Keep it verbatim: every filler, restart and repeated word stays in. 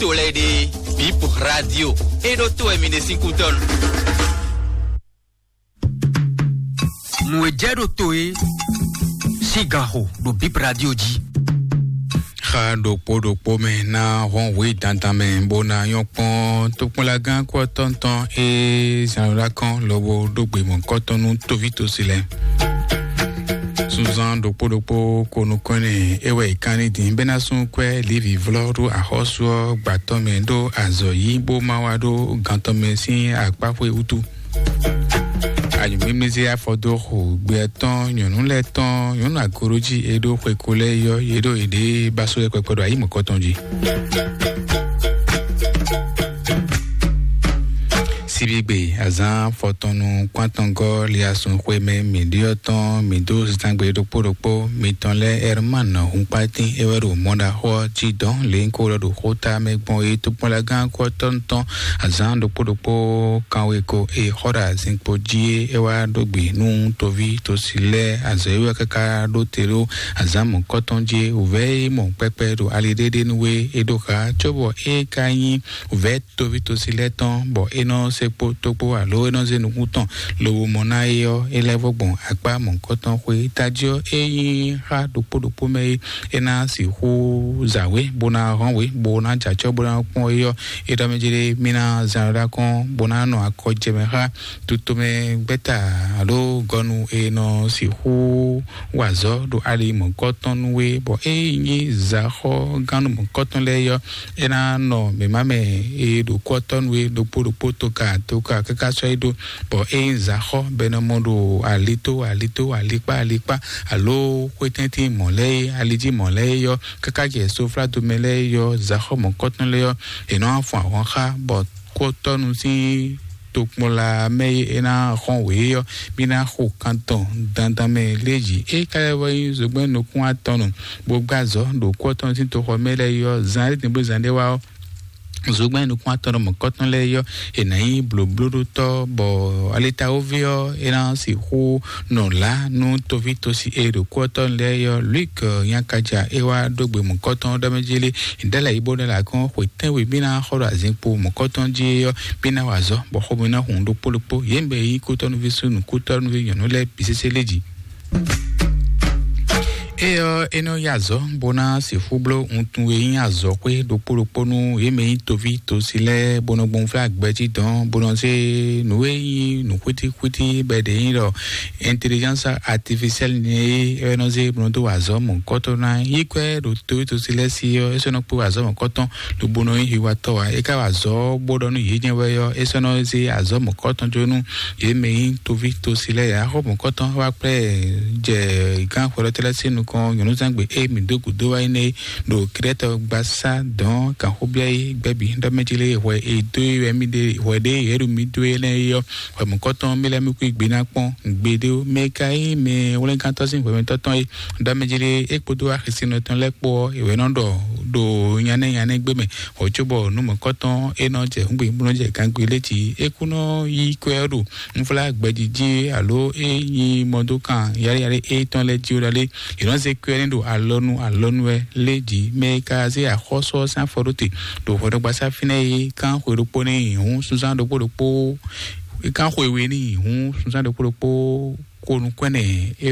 To lɛ́ɛ ɖe, Bip Radio, é ɖó to wɛ mi ɖe sín kútɔ́nu. Nǔ e jɛ ɖo to e sín ganxo ɖo Bip Radio jí. Xa ɖokpó ɖokpó mɛ ná hɔn wě dandan mɛ bó ná nyɔ́ kpɔ́n tokpɔnlagán kú ɔ́ tɔn tɔn e zan ɖó akɔn lobo ɖó gbe mɔ̌kɔtɔn nú tóví tosi lɛ́ɛ. Sunzan ɖokpó ɖokpó ko nukɔn nɛ é wɛ è kán ní din bɛ́ ná sún kwɛ́ Levi vlɔ́ ɖó axɔ́sú ɔ́ gbǎtɔ́ mɛ ɖó azɔ̌ yí bó má wá ɖó gantɔ́ mɛ sín akpáxwé wútu. Anyǔmímízé afɔ dó xo gbɛ tɔn nyɔ̌nu lɛ́ɛ tɔn nyɔ̌nu agorojí e ɖó xweko lɛ́ɛ yɔ yě ɖo yěɖée ba só yɛkpɛkpɛ ɖo ayǐ mɔ̌kɔtɔn jí. Síbígbe azán fɔtɔnnu kpántɔngɔ́ liasun xwemɛ mǐɖyɔ́ tɔn mǐ dó zangbe ɖokpó ɖokpó mitɔn lɛ́ɛ Herman Hunkpatín é wɛ ɖo mɔɖaxó ɔ́ jí dɔn lě nyí kó ɖɔ ɖo xóta mɛ gbɔn é tókpɔ́nlagán kɔ́tɔ́nu tɔn azán ɖokpó ɖokpó kanwe ko e xɔ ɖo azinkpo jí é é wá ɖó gbe nú toví tosi lɛ́ɛ azɔ̌ é wɛ káká ɖó te ɖó azán mɔ̌kɔtɔn jí é wǔvɛ́ é mɔ kpɛkpɛ ɖo ali ɖéɖé nú é é ɖó xa cóbɔ é ka nyí wǔvɛ́ toví tosi lɛ́ɛ tɔn bɔ é nɔ se kpo tokpó alo é nɔ zé nukún tɔn lobo mɔ ná é ɔ́ é lɛ́ vɔ gbɔn akpá mɔ̌hunkɔtɔn xwé tají ɔ́ é nyí xá ɖokpó ɖokpó mɛ é é ná sixú zǎwe bó ná hɔn we bó ná jɛ acɔ́ bó ná kpɔ́n é ɔ́ é ɖɔ mɛ jlé mí ná zán ɖó akɔn bó ná nɔ akɔ jɛ mɛ xá tutomɛ gbɛ́ta alo gɔnu e nɔ sixú wa azɔ̌ ɖo ali mɔ̌hunkɔtɔn nú we bɔ é nyí zǎxɔ́gánu mɔ̌hunkɔtɔn lɛ́ɛ é ɔ́ é ná nɔ mǐmá mɛ e ɖo kú ɔ́ tɔ́ nú we ɖokpó ɖokpó toka toka káká sɔ́ é ɖó bɔ é nyí zǎxɔ́ bɔ è nɔ mɔ ɖo alito alito alikpá alikpá alo xwétɛ́ntin mɔ̌ lɛ́ɛ é alijí mɔ̌ lɛ́ɛ é yɔ káká jɛ soflado mɛ lɛ́ɛ é yɔ zǎxɔ́ mɔ̌kɔtɔn lɛ́ɛ yɔ è nɔ wá fun ahwan xá bɔ kú ɔ́ tɔ́ nu sín tokpɔnla mɛ e é ná xɔ́n wě é ɔ́ mí ná xo kan tɔn dandan mɛ lé jǐ é ka lɛ́ vɔ nyí zogbɛ́n nukún atɔn nu bó gbá azɔ̌ ɖo kú ɔ́ tɔn sín toxɔ mɛ lɛ́ɛ é ɔ́ zan é din bó zan ɖé wá ɔ́ zogbɛ́n nukún atɔn ɖo mɔ̌kɔtɔn lɛ́ɛ yɔ è nǎ nyí blǒblóɖótɔ́ bɔ alitawoví ɔ́ é ná sixú nɔ lá nú toví tosi e ɖo kú ɔ́ tɔn lɛ́ɛ yɔ Luik nyakaja é wá ɖó gbe mɔ̌kɔtɔn ɖɔ mɛ jí lé ɖɛ́lɛ yí bó ɖɛ́lɛ akɔn xwe tɛ́nwe mí ná xɔ ɖo azinkpo mɔ̌kɔtɔn jí é yɔ mí ná wa azɔ̌ bɔ xomɛ ná hun ɖokpó ɖokpó yě mɛ yí kútɔ́núví súnnu kútɔ́núví nyɔ̌nu lɛ́ɛ bǐ sésé lé jǐ. Éyɔ́ é nɔ yí azɔ̌ bó ná sixú bló wuntun e nyí azɔ̌xwé ɖokpó ɖokpó nú yě mɛ nyí toví tosi lɛ́ɛ bó nɔ gbɔn flá gbɛjí dɔn bó nɔ zé nǔ e nyí nǔ xwítíxwítí bɔ è ɖě nyí ɖɔ intelligence artificielle nɛ́ é é nɔ zé bó nɔ dó wa azɔ̌ mɔ̌hunkɔtɔn ná yí kwɛ́ ɖo toví tosi lɛ́ɛ sí ɔ́ é sɔ́ nɔ kpé wa azɔ̌ mɔ̌hunkɔtɔn lobo nɔ nyí hiwatɔ́ ǎ é ka wa azɔ̌ bó ɖɔ nú yě jɛ́n wɛ ɔ́ é sɔ́ nɔ zé azɔ̌ mɔ̌hunkɔtɔn jó nú yě mɛ nyí toví tosi lɛ́ɛ ǎ xó mɔ̌hunkɔtɔn wá kplá ɛ jɛ gán xwɛɖɔtɛ́ lɛ́ɛ sín nukɔn nyɔ̌núzangbe e mǐ dó gǔdo wá énɛ́ é ɖo Krɛ́tɔ gbasá dɔ̌n kanxóbíá é gbɛ́bí ɖɔ mɛ jí lé hwɛ e dó é wɛ mì ɖe hwɛ ɖé yě ɖo mì dó é lɛ́ɛ é ɔ́ hwɛ mɔ̌kɔtɔn mì lɛ́ɛ mì kú gbe ná kpɔ́n gbeɖé ó mɛ ka é mɛ hwlɛ́ngántɔ́ sín hwɛmɛtɔ́ tɔn é ɖɔ mɛ jí lé é kpódó axisínɔ tɔn lɛ́ɛ kpó ɔ́ è wɛ nɔ ɖɔ ɖo nyanɛ́ nyanɛ́ gbé mɛ hwɛ cóbɔ nú mɔ̌kɔtɔn é nɔ jɛ húngbe bó nɔ jɛ gangbe lé jí é kú nɔ yí kwɛ́ ɔ́ ɖo ńflá gbɛjijì alo é nyí mɔdókan yáléyálé étɔn lɛ́ɛ jí ó ɖalé yě nɔ zé kwɛ́ ní ɖo alɔnu alɔnu wɛ lé jǐ mɛ e ka zé axɔ́sú ɔ́ sín afɔ ɖó te ɖo hwɛɖɔgbasá fínɛ́ é kán xwe ɖokpó ní hǔn súnzán ɖokpó ɖokpó kán xwe we ní hǔn súnzán ɖokpó ɖokpó ko nukún ɛnɛ é wɛ